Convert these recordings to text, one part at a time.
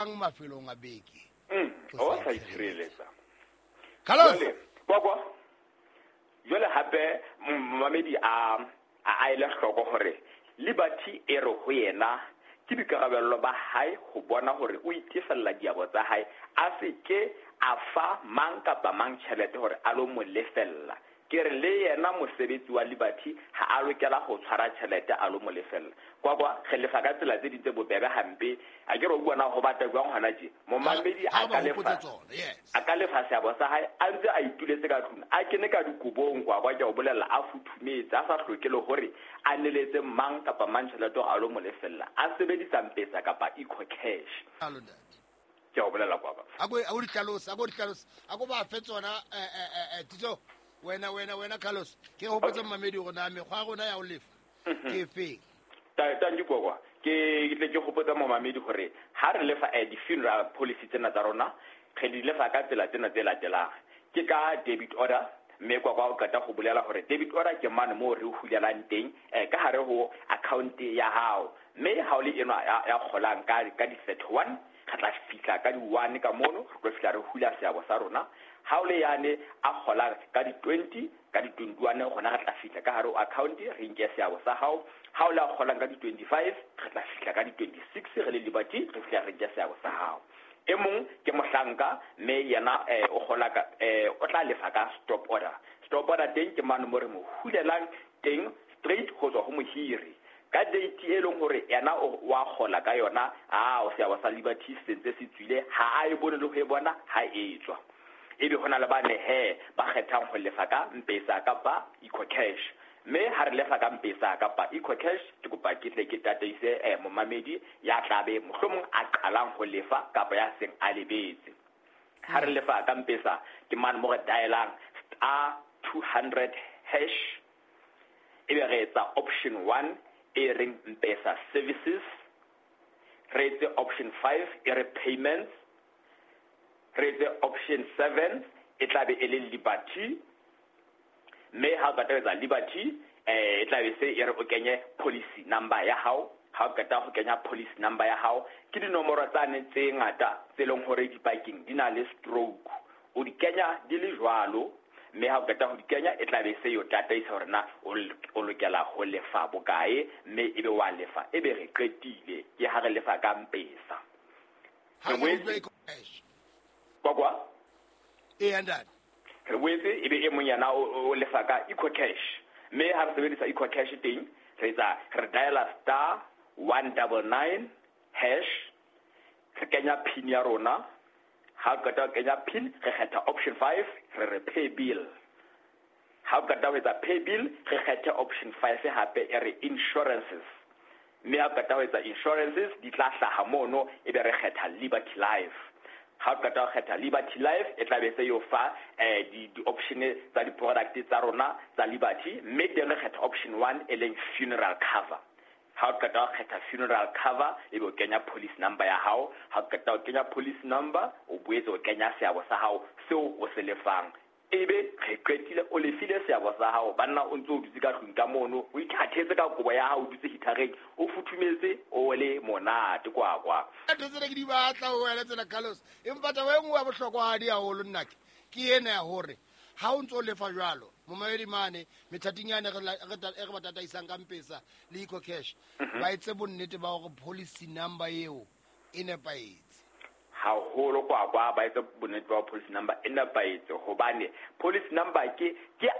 Mafelong a beke o sa itshireletsa. Carlos. Jwale kwakwa, jwale hape momamedi a ele hloko hore Liberty e re ho yena ke boikarabello ba hae ho bona hore o itefella diabo tsa hae, a se ke a fa mang kapa mang tjhelete hore a lo mo lefella. Ke re le yena mosebetsi wa Liberty ha a lokela ho tshwara tjhelete a lo mo lefella. Kwakwa, re lefa ka tsela tse ding tse bobebe hampe. A ke re o bua na ho bata jwang hona tje. Momamedi Ha a ba ka lefa hopotse tsona, yes. A ka lefa seabo sa hae a ntse a ituletse ka tlung, a kene ka dikobong. Kwakwa, ke a o bolella, a futhumetse, a sa hloke le hore a neletse mang kapa mang tjhelete hore a lo mo lefella, a sebedisa Mpesa kapa EcoCash. Jalo, ntate. Ke a o bolella, kwakwa. A ko di hlalose, a ko di hlalose, a ko ba fe tsona. Titso, wena Carlos, ke hopotse mamedi hore na mekgwa ya rona ya ho lefa ke efeng. Tanki kwakwa, ke tle ke hopotsa momamedi hore ha re lefa di-funeral policy tsena tsa rona, re di lefa ka tsela tsena tse latelang. Ke ka debit order, mme kwakwa o qeta ho bolela hore debit order ke mane moo re hulelang teng ka hare ho account ya hao. Mme ha o le enwa ya kgolang ka di-31, re tla fihla ka di-1 ka mono, re tlo fihla re hula seabo sa rona. Ha o le yane a kgolang ka di-20, ka di-21 gona re tla fihla ka hare ho account, re nke seabo sa hao. Ha o le a kgolang ka di-25, re tla fihla ka di-26 re le Liberty, re fihla re nke seabo sa hao. E mong ke mohlanka, mme yena o kgola ka o tla lefa ka stop order. Stop order teng ke mane mo re mo hulelang teng straight ho tswa ho mohiri ka date e leng hore yena o wa kgola ka yona. A o seabo sa Liberty se ntse se tswile, ha a e bone le ho e bona ha e tswa. Ebe hona le bane he ba kgethang ho lefa ka Mpesa kapa EcoCash. Mme ha re lefa ka Mpesa kapa EcoCash, ke kopa ke tle ke tataise momamedi ya tlabe mohlomong a qalang ho lefa kapa ya seng a lebetse. Ha re lefa ka Mpesa ke mane mo re dialang *200#, ebe re etsa option 1 e reng Mpesa services, re etse option 5 e re payments, re etse option 7 e tla be e le Liberty. Mme ha o qeta ho etsa Liberty, e tla be se e re o kenye policy number ya hao. Ha o qeta ho kenya policy number ya hao, ke dinomoro tsane tse ngata tse leng hore dipakeng di na le stroke, o di kenya di le jwalo. Mme ha o qeta ho di kenya, e tla be se yo tataisa hore na o lokela ho lefa bokae, mme ebe wa lefa, ebe re qetile. Ke ha re lefa ka Mpesa. Ha Re re boetse utlwa EcoCash. Kwakwa. Eya, ntate. Re boetse ebe e mong yena o lefa ka EcoCash. Mme ha re sebedisa EcoCash teng, re etsa re diala *199#, re kenya PIN ya rona. Ha o qeta ho kenya PIN, re kgetha option 5, re re pay bill. Ha o qeta ho etsa pay bill, re kgethe option 5 hape e re insurances. Mme ha o qeta ho etsa insurances, di tla hlaha mono, ebe re kgetha Liberty Life. Ha o qeta ho kgetha Liberty Life, e tla be se yo fa di-option tsa di-product tsa rona tsa Liberty, mme teng re kgetha option 1 e leng funeral cover. Ha o qeta ho kgetha funeral cover, ebe o kenya policy number ya hao. Ha o qeta ho kenya policy number, o boetse o kenya seabo sa hao seo o se lefang, ebe re qetile. O lefile seabo sa hao, banna, o ntse o dutse ka tlung ka mono, o ithathetse ka kobo ya hao, o dutse hitareng, o futhumetse, o le monate, kwakwa. Ntho tsena ke di batla ho wena tsena, Carlos, empa taba e nngwe ya bohlokwahadi haholo nnake ke ena ya hore ha o ntso o lefa jwalo, momamedi mane methating yane e re ba tataisang ka Mpesa le EcoCash, ba etse bonnete ba hore policy number eo e nepahetse. Haholo, kwakwa, ba etse bonnete ba policy number e nepahetse, hobane policy number ke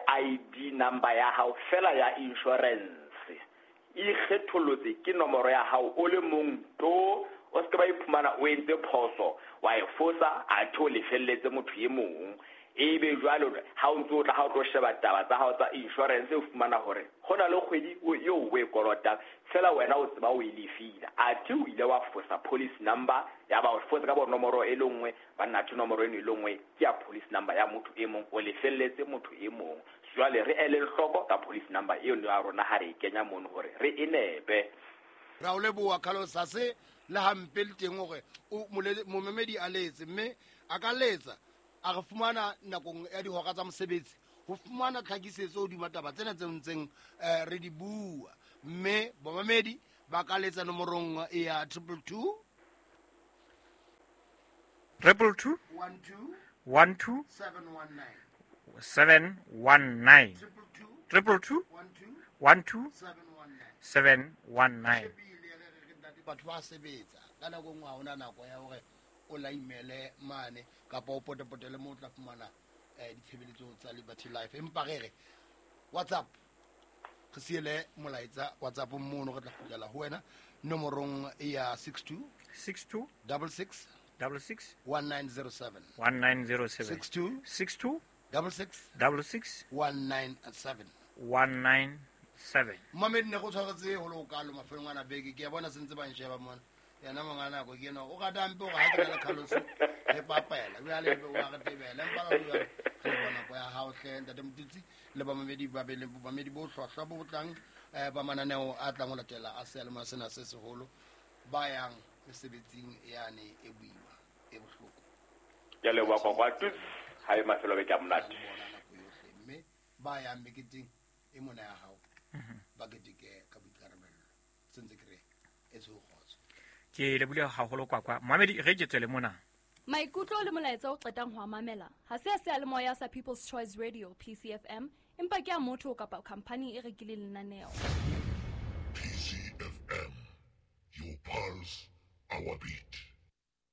ID number ya hao fela ya insurance, e ikgethollotse, ke nomoro ya hao o le mong to. O se ke ba iphumana o entse phoso, wa e fosa, athe o lefelletse motho e mong. Ebe jwalo ha o ntso o tla, ha o tlo sheba taba tsa hao tsa insurance, o fumana hore ho na le kgwedi eo o e kolotang fela, wena o tseba o e lefile, athe o ile wa fosa policy number, ya ba o fosa ka bo nomoro e le nngwe, banna, athe nomoro eno e le nngwe ke ya policy number ya motho e mong, o lefelletse motho e mong. Jwale re ele hloko ka policy number eo ya rona ha re e kenya mono hore re e nepe. Ra o leboha, Carlos. Ha se le hampe le teng hore momamedi a letse, mme a ka letsa a re fumana nakong ya dihora tsa mosebetsi ho fumana tlhakisetso hodima taba tsena tse ntseng re di bua. Mme bomamedi ba ka letsa nomorong ya 222. 222 12 12 719. 719. 222 222 12 12 719. 719. Shebile re re re ntate, batho ba sebetsa ka nako e nngwe ha hona nako ya hore o laimele mane kapa o potepotele moo o tla fumana ditshebeletso tsa Liberty Life. Empa re re WhatsApp, re siele molaetsa WhatsApp mono, re tla kgutlela ho wena nomorong ya 62 62 66 66 1907. 1907. 62 62 66 66 197. 197. Momedi ne go tshwaretse go le o kalo mafelong a beke, ke a bona sentse ba nsheba mona. Yena monga nako ke ena o rata mpe gore ha ke na le Carlos re papela jwale ebe wa re tebela, empa la jwale re leboha nako ya hao hle ntate Motutsi le bamamedi ba be le bamamedi bo hlwahlwa bo tlang ba mananeo a tlang ho latela a seyalemoya sena se seholo, ba yang mesebetsing yane e boima e bohloko. Ke a leboha Kwakwa. Tuts, ha e mafelo a beke a monate. Ho bona nako yohle, mme ba yang meketeng e mona ya hao ba keteke ka boikarabello, sentse ke re e tsho kgotso. Ke lebohile haholo Kwakwa. Moamedi, re ke tswele mona. Maikutlo le molaetsa o qetang ho a mamela ha se a seyalemoya sa People's Choice Radio PCFM, empa ke a motho kapa khamphani e rekileng lenaneo. PCFM, your pulse, our beat.